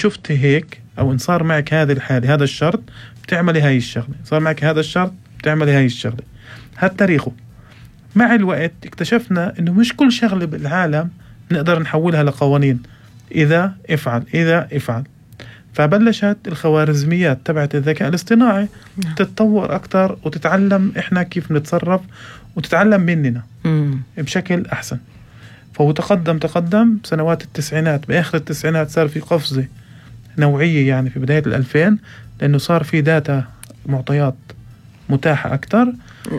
شفتي هيك أو إن صار معك هذه الحالة هذا الشرط بتعملي هاي الشغلة، صار معك هذا الشرط بتعملي هاي الشغلة. هاد تاريخه. مع الوقت اكتشفنا إنه مش كل شغلة بالعالم نقدر نحولها لقوانين، إذا افعل. فبلشت الخوارزميات تبعت الذكاء الاصطناعي تتطور أكتر وتتعلم إحنا كيف نتصرف وتتعلم مننا بشكل أحسن. فهو تقدم بسنوات التسعينات، بآخر التسعينات صار في قفزة نوعية يعني في بداية 2000، لأنه صار في داتا معطيات متاحة أكتر.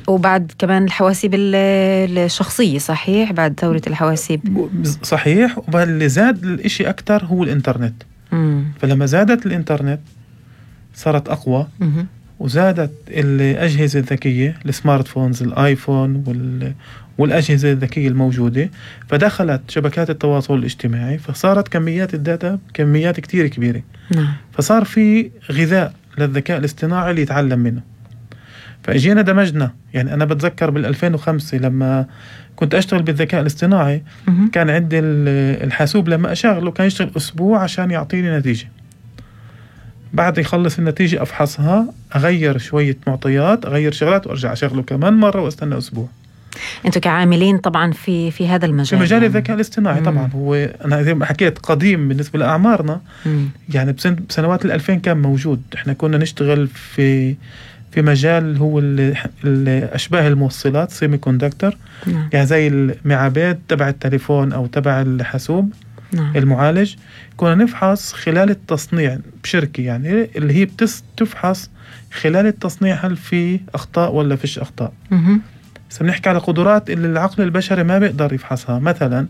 وبعد كمان الحواسيب الشخصية، صحيح، بعد ثورة الحواسيب صحيح. وباللي زاد الاشي أكتر هو الإنترنت. فلما زادت الإنترنت صارت أقوى وزادت الأجهزة الذكية، السمارت فونز، الآيفون والأجهزة الذكية الموجودة، فدخلت شبكات التواصل الاجتماعي، فصارت كميات الداتا كميات كتير كبيرة. فصار في غذاء للذكاء الاصطناعي اللي يتعلم منه. فأجينا دمجنا، يعني أنا بتذكر بال2005 لما كنت أشتغل بالذكاء الاصطناعي كان عندي الحاسوب لما أشغله كان يشتغل أسبوع عشان يعطيني نتيجة. بعد يخلص النتيجة أفحصها، أغير شوية معطيات، أغير شغلات وأرجع أشغله كمان مرة وأستنى أسبوع. أنتوا كعاملين طبعا في هذا المجال، في مجال الذكاء الاصطناعي. طبعا هو أنا زي ما حكيت قديم بالنسبة لأعمارنا. يعني بسنوات 2000 كان موجود. إحنا كنا نشتغل في مجال هو أشباه الموصلات، سيمي كوندكتور. يعني زي المعابد تبع التليفون أو تبع الحاسوب. المعالج كنا نفحص خلال التصنيع بشركة، يعني اللي هي تفحص خلال التصنيع هل في أخطاء ولا فيش أخطاء. بنحكي على قدرات اللي العقل البشري ما بيقدر يفحصها. مثلا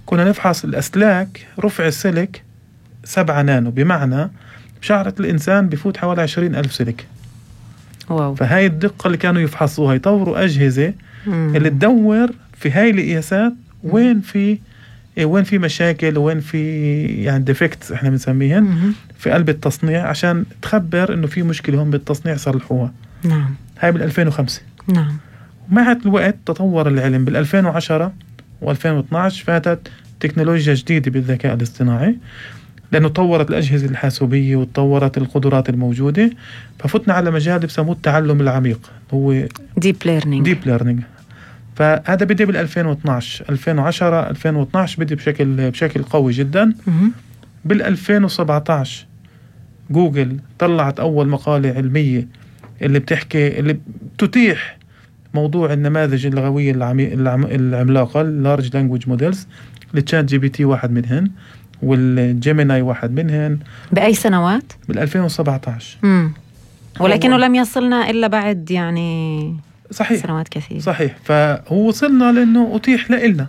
كنا نفحص الأسلاك، رفع السلك 7 نانو، بمعنى بشعرة الإنسان بفوت حوالي 20,000 سلك. واو. فهاي الدقة اللي كانوا يفحصوها، يطوروا أجهزة اللي تدور في هاي القياسات وين في مشاكل وين في يعني ديفكتس احنا بنسميهن في قلب التصنيع، عشان تخبر انه في مشكلة هون بالتصنيع صلحوها. هاي بال2005. مع الوقت تطور العلم. بال2010 و2012 فاتت تكنولوجيا جديدة بالذكاء الاصطناعي، لأنه طورت الأجهزة الحاسوبية وتطورت القدرات الموجودة، ففتنا على مجال بسموه التعلم العميق، هو Deep Learning. فهذا بدأ بال2012 2010 2012 بدأ بشكل قوي جدا. بال2017 جوجل طلعت أول مقالة علمية اللي بتتيح موضوع النماذج اللغوية العملاقة Large Language Models. التشات جي بي تي واحد منهن، والجيميناي واحد منهن. بأي سنوات؟ بال2017. ولكنه لم يصلنا إلا بعد يعني صحيح. سنوات كثيرة. صحيح. فهو وصلنا لأنه أتيح لإلنا،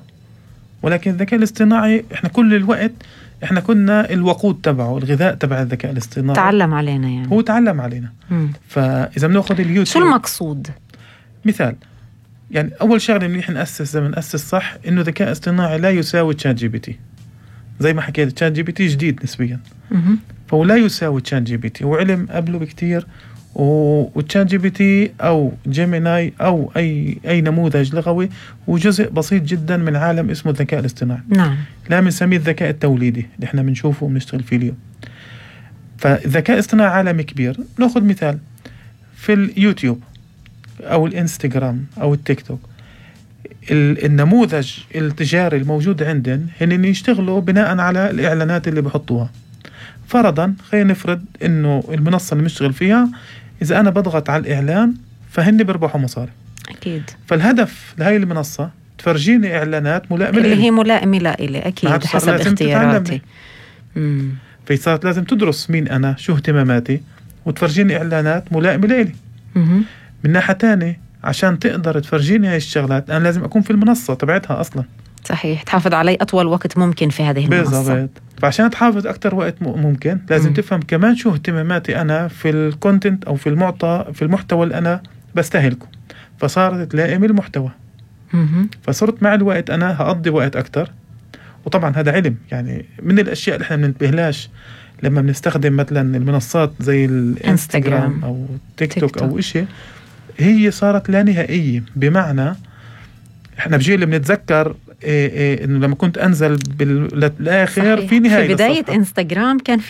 ولكن الذكاء الاصطناعي إحنا كل الوقت إحنا كنا الوقود تبعه، الغذاء تبع الذكاء الاصطناعي. تعلم علينا يعني. هو تعلم علينا. فإذا بنأخذ اليوتيوب، شو المقصود؟ مثال، يعني أول شغلة منيح نأسس صح إنه الذكاء الاصطناعي لا يساوي تشات جي بي تي. زي ما حكيت تشات جي بي تي جديد نسبيا، فهو لا يساوي تشات جي بي تي، هو علم قبله بكتير. وتشات جي بي تي أو جيميناي أو أي نموذج لغوي هو جزء بسيط جدا من عالم اسمه الذكاء الاصطناعي. لا بنسميه الذكاء التوليدي اللي احنا بنشوفه وبنشتغل فيه اليوم. فالذكاء الاصطناعي عالم كبير. نأخذ مثال في اليوتيوب أو الإنستغرام أو التيك توك، النموذج التجاري الموجود عندن هن يشتغلوا بناء على الإعلانات اللي بحطوها. فرضا خلينا نفرض إنه المنصة اللي مشتغل فيها إذا أنا بضغط على الإعلان فهن بربحوا مصاري. أكيد. فالهدف لهاي المنصة تفرجيني إعلانات ملائمة اللي هي ملائمة لإلي أكيد حسب اختياراتي. فصارت لازم تدرس مين أنا، شو اهتماماتي، وتفرجيني إعلانات ملائمة لإلي. من ناحية تانية عشان تقدر تفرجيني هاي الشغلات أنا لازم أكون في المنصة تبعتها أصلا. صحيح. تحافظ علي أطول وقت ممكن في هذه المنصة. بالضبط. فعشان تحافظ أكتر وقت ممكن لازم تفهم كمان شو اهتماماتي أنا في الكونتنت أو في المحتوى اللي أنا بستهلكه. فصارت تلائم المحتوى. فصرت مع الوقت أنا هقضي وقت أكتر. وطبعا هذا علم، يعني من الأشياء اللي احنا بننتبهلاش لما بنستخدم مثلا المنصات زي الانستغرام أو تيك توك أو إشي، هي صارت لا نهائية. بمعنى احنا بجيل بنتذكر انه لما كنت انزل بالاخر في نهاية في بداية انستغرام كان في